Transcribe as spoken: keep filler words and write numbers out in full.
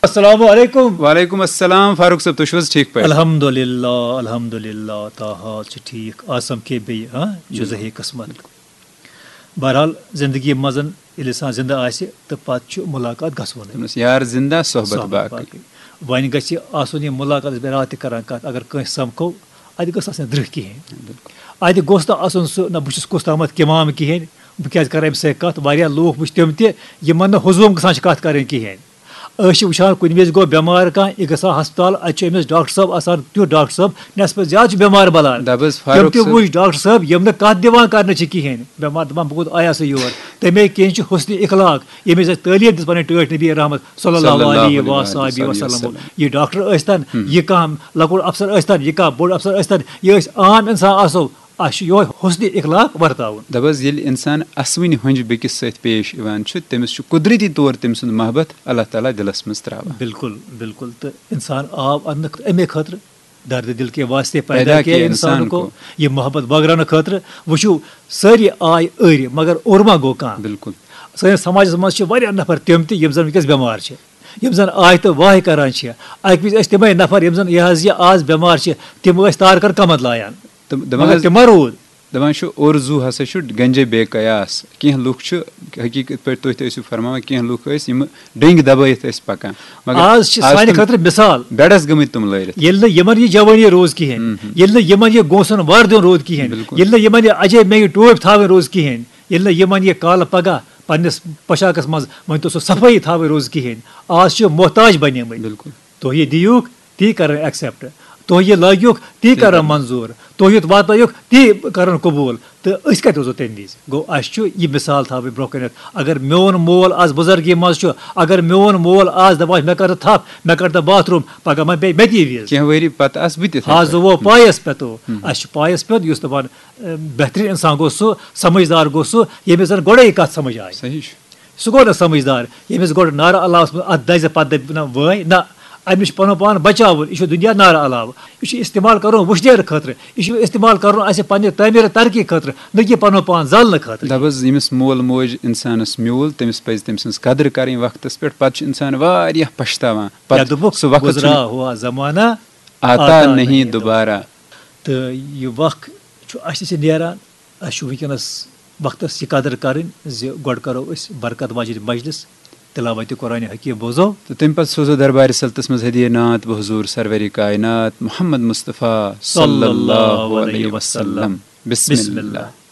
السلام علیکم۔ وعلیکم السلام فاروق صٲب، تُہۍ چھِو حظ ٹھیٖک پٲٹھۍ؟ الحمدللہ، الحمدللہ، تہٕ حال چھِ ٹھیٖک۔ آسم کے بیٚیہِ، ہاں، جُزہے قسمت۔ بہرحال، زندگی منٛز ییٚلہِ انسان زندٕ آسہِ تہٕ پتہٕ چھُ ملاقات گژھوُن۔ دوٚپنَس، یار زندہ، صحبت صحبت باقٕے۔ باقٕے۔ وۄنۍ گژھِ آسُن یہِ ملاقات، أسۍ بیٚیہِ راتھ تہِ کران کتھ، اگر کٲنٛسہِ سمکھو، اتہِ گٔژھ آسٕنۍ درٕہ کِہیٖنۍ۔ اتہِ گوٚژھ نہٕ آسُن سُہ، نہ بہٕ چھُس کُس تامتھ کِمام کِہیٖنۍ، بہٕ کیازِ کرٕ أمِس سۭتۍ کتھ؟ واریاہ لوٗکھ وٕچھ تِم تہِ، یِمن نہٕ ہُزوم گژھان چھِ کتھ کرٕنۍ کِہیٖنۍ۔ أسۍ چھِ وٕچھان کُنہِ وِزِ گوٚو بٮ۪مار کانٛہہ، یہِ گژھان ہسپتال، اتہِ چھُ أمِس ڈاکٹر صٲب آسان، تیُتھ ڈاکٹر صٲب نٮ۪صفہٕ زیادٕ چھُ بٮ۪مار بلان۔ دَپ حظ، تِم فاروق تہِ صٲب۔ وٕچھ ڈاکٹر صٲب، یِم نہٕ کتھ دِوان کرنہٕ چھِ کِہیٖنۍ۔ بٮ۪مار دپان، بہٕ کوٚت آیاسہٕ یور؟ تمے کِنۍ چھُ حسن اخلاق، ییٚمِس اَسہِ تعلیٖم دِژ پنٕنۍ ٹٲٹھۍ نبی رحمت صلی صلی اللہ اللہ علیہ علیہ وآلہ وسلم۔ وسلم۔ یہِ ڈاکٹر ٲسۍتن، یہِ کانٛہہ لۄکُٹ افسر ٲسۍتن، یہِ کانٛہہ بوٚڑ افسر ٲسۍتن، یہِ أسۍ عام انسان آسو، اَسہِ چھُ یِہوٚے حسن اخلاق ورتاوُن۔ دَپ حظ، ییٚلہِ انسان اسوٕنہِ ہۄنٛجہِ بیٚکِس سۭتۍ پیش یِوان چھُ، تٔمِس چھُ قدرتی طور تٔمۍ سُنٛد محبت اللہ تعالیٰ دِلس منٛز تراوان۔ بالکل، بالکل۔ تہٕ انسان آو انہٕ امے خٲطرٕ، درد دل کے واسطے پیدا پیدا کیا کیا انسان انسان کو۔ کو۔ یہ محبت بٲگراونہٕ خٲطرٕ۔ وٕچھِو، سٲری آے أرۍ، مگر اوٚرما گوٚو کانٛہہ۔ بالکل۔ سٲنِس سماجس منٛز چھِ واریاہ نفر تِم تہِ، یِم زن وٕنکیٚس بٮ۪مار چھِ، یِم زن آے تہٕ واے کران چھِ۔ اکہِ وِزِ ٲسۍ تِمے نفر، یِم زن یہِ حظ یہِ آز بٮ۪مار چھِ، تِم ٲسۍ تارکن کمند لایان۔ تہٕ دَپان مگر حظ، تِم ما روٗد۔ دَپان چھُ، اور زو ہسا چھُ گنجے بے قیاس۔ کینٛہہ لُکھ چھِ، حقیٖقت پٲٹھۍ تُہۍ تہِ ٲسِو فرماوان، کینٛہہ لُکھ ٲسۍ، یِم ڈٔنگۍ دبٲیِتھ ٲسۍ پکان۔ مگر آز چھِ آز سانہِ تِم خٲطرٕ مثال۔ بیڈس گٔمٕتۍ تِم لٲرِتھ۔ ییٚلہِ نہٕ یِمن یہِ جوٲنی روٗز کِہیٖنۍ، ییٚلہِ نہٕ یِمن یہِ گونٛسن وار دیُن روٗد کِہیٖنۍ، بِلکُل۔ ییٚلہِ نہٕ یِمن یہِ اجے مےٚ یہِ ٹوپۍ تھاوٕنۍ روٗز کِہیٖنۍ، ییٚلہِ نہٕ یِمن یہِ کالہٕ پگاہ پننِس پوشاکس منٛز وۄنۍ تو سُہ صفٲیی تھاوٕنۍ روٗز کِہیٖنۍ، آز چھِ محتاج بنیمٕتۍ۔ بِلکُل۔ تُہۍ یہِ دِیوٗکھ، تی کرن ایکسپٹ۔ تُہۍ یہِ لٲگیوٗکھ، تی کرن منظوٗر۔ تُہۍ یُتھ واتنٲیوٗکھ، تی کرن قبوٗل۔ تہٕ أسۍ کتہِ روزو تمہِ وِزِ؟ گوٚو، اسہِ چھُ یہِ مثال تھاوٕنۍ برونٛہہ کنٮ۪تھ۔ اگر میون مول آز بُزرگی منٛز چھُ، اگر میون مول آز دپان چھُ، مےٚ کر تہٕ تھپھ، مےٚ کر تہٕ باتھ روٗم، پگاہ ما بیٚیہِ مےٚ تہِ یہِ وِز۔ کینٛہہ ؤری پتہٕ آسہٕ بہٕ تہِ یِتھَے ہاں، زٕ پٲٹھۍ۔ وو پایس پٮ۪تو۔ اسہِ چھُ پایس پٮ۪تھ، یُس دپان، اے، بہترین انسان گوٚو سُہ، سمجھدار گوٚو سُہ، ییٚمِس زن گۄڈے یہِ کتھ سمجھ آیہِ۔ صحیح چھُ۔ سُہ گوٚو نہٕ سمجھدار، ییٚمِس گۄڈٕ نارٕ علاوس منٛز اتھ دزِ پتہٕ دپہِ نہ وٲے نہ، أمِس چھُ پنُن پان بچاوُن، یہِ چھُ دُنیا نارٕ علاوٕ، یہِ چھُ استعمال کرُن وُشنیرٕ خٲطرٕ، یہِ چھُ استعمال کرُن اسہِ پننہِ تعمیٖرٕ ترقی خٲطرٕ، نہ کہِ پنُن پان زالنہٕ خٲطرٕ۔ دَپ حظ، ییٚمِس مول موج اِنسانَس میوٗل، تٔمِس پَزِ تٔمۍ سٕنٛز قدٕر کَرٕنۍ وقتَس پٮ۪ٹھ۔ پَتہٕ چھُ اِنسان واریاہ پَشتاوان۔ کیٛاہ پَتہٕ دوٚپُکھ؟ سُہ وقت چھُنہٕ گُزرا ہوا زمانہ آتا نہیں دوبارہ۔ تہٕ یہِ وقت چھُ اَسہِ نِش نیران، اَسہِ چھُ وٕنکیٚنَس وقتَس یہِ قدٕر کَرٕنۍ زِ گۄڈٕ کَرو أسۍ برکت واجِنۍ مجلس، تلاوت قرآن حکیم بوزو۔ تہٕ تَمہِ پَتہٕ سوزو دربارِ سلطس منٛز ہدیہ نعت بحضور سرور کائنات محمد مصطفیٰ صلی اللہ علیہ وسلم۔ بسم اللہ۔